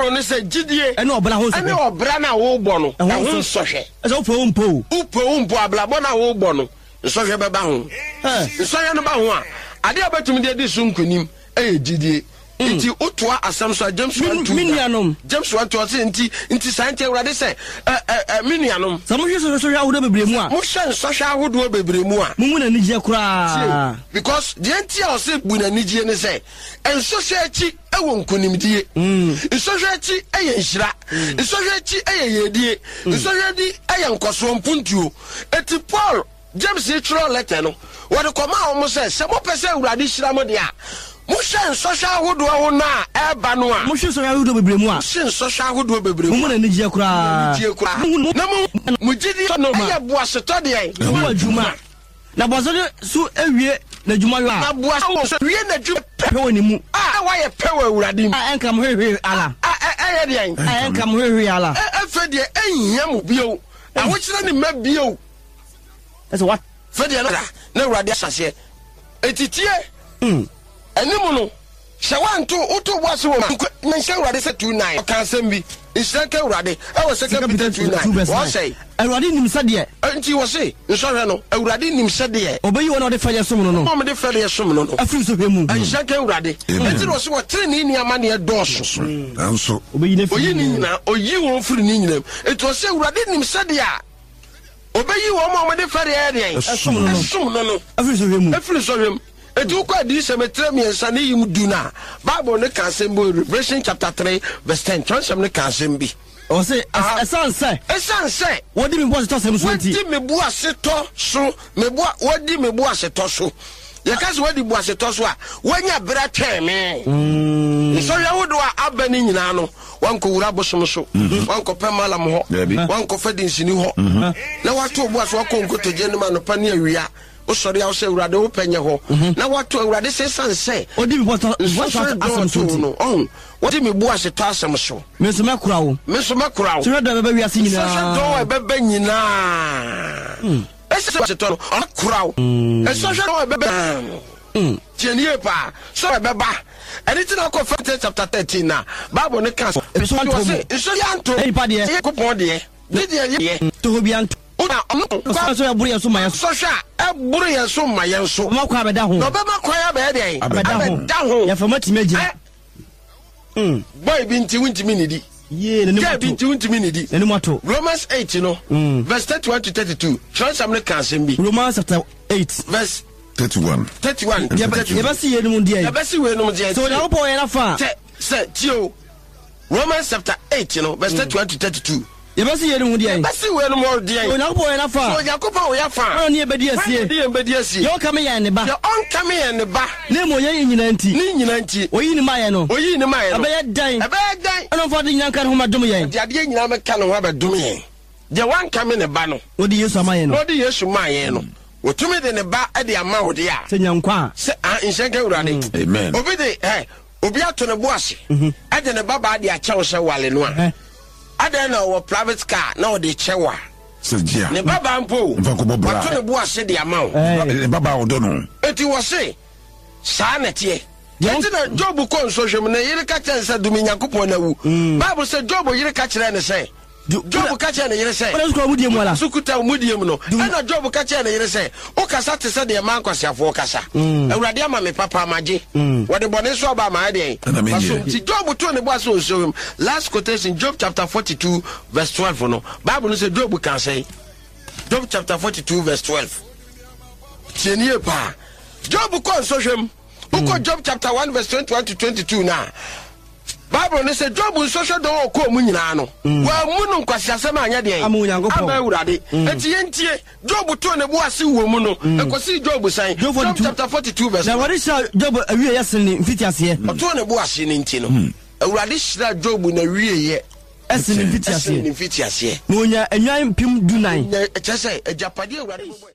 Bible no sɛ gyidie Ɛne ɔbra ho ɛne nsɔhwɛ. ɔbra no a wobɔ no Ɛho ɛho nsɔ- nsɔhwɛ. Ɛsɛ wopɛ wo mpo o. Wopɛ wo mpo abrabɔ no a wobɔ no nsɔhwɛ bɛba ho. Ɛ. Nsɔhwɛ no ba ho a, adeɛ a wobɛtumi de adi so nkonim ɛyɛ gyidie. Nti wotoa asɛm so a James Me- 1 2 me nuanom. James 1 2 ɔse nti nti saa nti Awurade sɛ ɛ ɛ ɛ me nuanom Sɛ mohwɛ sɔhwɛ ahodoɔ bebree mu a, mohwɛ nsɔhwɛ ahodoɔ bebree mu a mommu no anigyeɛ koraa. because deɛ nti a ɔse bu n'anigyeɛ ne sɛ nsɔhwɛ akyi ɛwɔ nkonimdie. Nsɔhwɛ akyi ɛyɛ nhyira. Nsɔhwɛ akyi ɛyɛ yɛdie. Nsɔhwɛ akyi ɛyɛ nkɔsoɔ mpuntuo. Eti Paul James yi twerɛ letter no wɔde kɔmaa wɔn sɛ sɛ mopɛ sɛ Awurade hyira mo deɛ a mohwɛ nsɔhwɛ ahodoɔ ho no a ɛreba no a Mohwɛ sɔhwɛ ahodoɔ bebree mu a, mohwɛ nsɔhwɛ ahodoɔ bebree mu mommu a no anigyeɛ koraa. anigyeɛ koraa. Monhu Na mo mo gyidie no ɛyɛ boasetɔ deɛ ho adwuma. Na boasetɔ so awie n'adwuma yɔ na a, boasetɔ so wie n'adwuma pɛ pɛ wɔ ne mu. a wayɛ pɛ wɔ Awurade mu A ɛnka mo hwehwee ala. a ɛyɛ deɛn A ɛnka mo hwehwee ala. Ɛfɛ deɛ ɛnhia mo bio ahokyerɛ ne mma bio Ɛsɛ wa. Fɛ deɛ na Awurade ahyɛ aseɛ eti tie anim no sɛ wanto woto bo ase wɔ mu nhyɛ Awurade sɛ 2:9 ɔka asɛm bi nhyira nka Awurade ɛwɔ Second Peter 2:9 wɔsɛe Awurade nim sɛdeɛ nti wɔse nsɔhwɛ no Awurade nim sɛdeɛ ɔbɛyi wɔn a ɔde fɛdeɛ som no no wɔn de fɛdeɛ som no no afiri nsɔhwɛ mu. Nhyira nka Awurade. Enti na ɔse wɔtene ne amanneɛ dɔɔso. Nanso Ɔbɛyi no afiri Oyi ne mu. nyinaa, oyi wɔn firi ne nyinaa mu. Enti ɔse Awurade nim sɛdeɛ a ɔbɛyi wɔn a wɔde fɛdeɛ yɛ deɛn? Ɛsom no no. Ɛsom no no. Afiri nsɔhwɛ mu. Ɛfiri nsɔhwɛ mu. Enti wokɔ Adiyisɛm etire mmiɛnsa ne yim du no a, Bible no ka asɛm bi wɔ Revelation chapter 3 verse 10, twerɛnsɛm no ka asɛm bi. Ɔse, ɛsiane sɛ. Ɛsiane sɛ. Wɔdi me boasetɔ asɛm so nti. Wɔdi me boasetɔ so, me boa, wɔdi me boasetɔ so. Yɛka sɛ wɔdi boasetɔ so a, wɔanya berɛ atwɛn me. Nsɔhwɛ ahodoɔ a aba no nyinaa no, wankɔwura abosom so, wankɔpɛ malam hɔ, wankɔfa dinsini hɔ, na wato bo ase wakɔ nkotodwe no mu anɔpa ne awia. Wosɔre a wosɛ Awurade wo pɛ nyɛ hɔ, na wato Awurade sɛ ɛsiane sɛ Ɔdi me boasetɔ nsɔhwɛ asɛm so dɔɔso nti. no, ɔho, wɔdi me boasetɔ asɛm so. Me nso mɛkora wo. Me nso mɛkora wo. Sɔhwɛ dɔn a ɛbɛba wiase nyinaa. Sɔhwɛ dɔn a ɛbɛba nyinaa. Ɛsɛ boasetɔ no, ɔkora wo. Sɔhwɛ dɔn a ɛbɛba nyinaa. Tie nie yie paa. Sɔhwɛ ɛbɛba. Ɛno nti na wokɔ First Peter chapter 13 na Bible no ka sɛ, Nsɔhwɛ anto Ɔse, mo. nsɔhwɛ anto. Nnipa deɛ. Ɛyɛ Nyankopɔn deɛ. Ne deɛ yɛ. Toho bi anto. Na ɔno Sɔhwɛ sɛ ɛboro yɛn so ma yɛn so. Sɔhwɛ a ɛboro yɛn so ma yɛn so. Ɔbɛma kwan abɛda ho. Na ɔbɛma kwan abɛyɛ deɛn? Abɛda ho. Abɛda ho. Yɛfa mu atumi agyina. Boy bi nti wontumi nnidi. Yie, n'anim Girl ato. bi nti wontumi nnidi. N'anim ato. Romans 8 no, verse 31 to 32, twerɛnsɛm no ka asɛm bi. Romans chapter 8. Verse 31. 31 to 32. Yɛbɛsi yeinom deɛ. Yɛbɛsi weinom deɛ. Sɛ Onyankopɔn wɔ yɛn afa a. Sɛ, sɛ, tie o. Romans chapter 8 no, verse 31 to 32. Yɛbɛsi yeinom ho deɛn? Yɛbɛsi weinom ho deɛn? Sɛ Onyankopɔn wɔ yɛn afa a. Sɛ Onyankopɔn wɔ yɛn afa a. Hwan na ɔne yɛn bɛdi asie? Hwan na ɔne yɛn bɛdi asie? Deɛ ɔnkame yɛn ne ba. Deɛ ɔnkame yɛn ne ba. Na mmom yɛn nyinaa nti. Ne nyinaa nti. Ɔyii ne maeɛ no. Ɔyii ne maeɛ no. Ɛbɛyɛ dɛn? Ɛbɛyɛ dɛn? Ɛna ɔmfa ade nyinaa nka ne ho mmɛdom yɛn. Ɔde adeɛ nyinaa bɛka ne ho abɛdom yɛn. Deɛ wankame ne ba no. Na ɔde Yesu ama yɛn no. Na ɔde Yesu maa yɛn no. Wɔtumi de ne ba de ama wo deɛ a. Sɛ nya nkwa a. Sɛ, ah, nhyɛ nka Awurade. Amen. Obi de, ɛ, obi ato ne bo ase. Ɛde ne ba baa de akyɛ wo sɛ wale no a. Adɛn na ɔwɔ private car na ɔde kyɛ wo a? Sɛ gye a. Ne babaa mpo o. Mfa nkɔbɔ bra. Wato ne bo ase de ama wo. Ne babaa ɔdɔ no. Enti wɔse, saa na ɛteɛ. Enti na Job kɔ nsɔhwɛ mu, ne yere ka kyerɛ no sɛ, Dome Nyankopɔn na wu. Bible sɛ Job yere ka kyerɛɛ no sɛ, Job ka kyerɛɛ ne yere sɛ, Wona so kura wo mudie mu ala? So kuta wo mudie mu no. Ɛnna Job ka kyerɛɛ ne yere sɛ, Wokasa te sɛ deɛ mmaa nkwaseafoɔ kasa. Awurade ama me papa, magye. Wɔde bɔne nso aba a, mayɛ deɛn? Ɛna menyɛ. Masom. Nti Job too ne bo ase wɔ nsuo mu. Last quotation, Job chapter 42 verse 12 no, Bible no sɛ Job kaa sɛn? Job chapter 42 verse 12. Tie nie paa. Job kɔ nsɔhwɛ mu. Wokɔ Job chapter 1 verse 21 to 22 no a, Bible no sɛ Job nsɔhwɛ dɔn a ɔkɔɔ mu nyinaa no, wammu no nkwaseasɛm anyɛ deɛn? Ama Onyankopɔn. Ama Awurade. Enti yɛntie, Job too ne bo ase wɔ mu no, ɛkɔsii Job sɛn? Job Job 42. chapter 42 verse Na 1. Awurade hyiraa Job awieeɛ sene ne mfitiaseɛ. Ɔtoo ne bo ase no nti no, Awurade hyiraa Job n'awieeɛ Ɛsene ne ɛsene ne mfitiaseɛ. mfitiaseɛ. Na ɔnyaa nnwan 14,000. Ɔnya, kyerɛ sɛ, agyapadeɛ a Awurade bɔbɔe.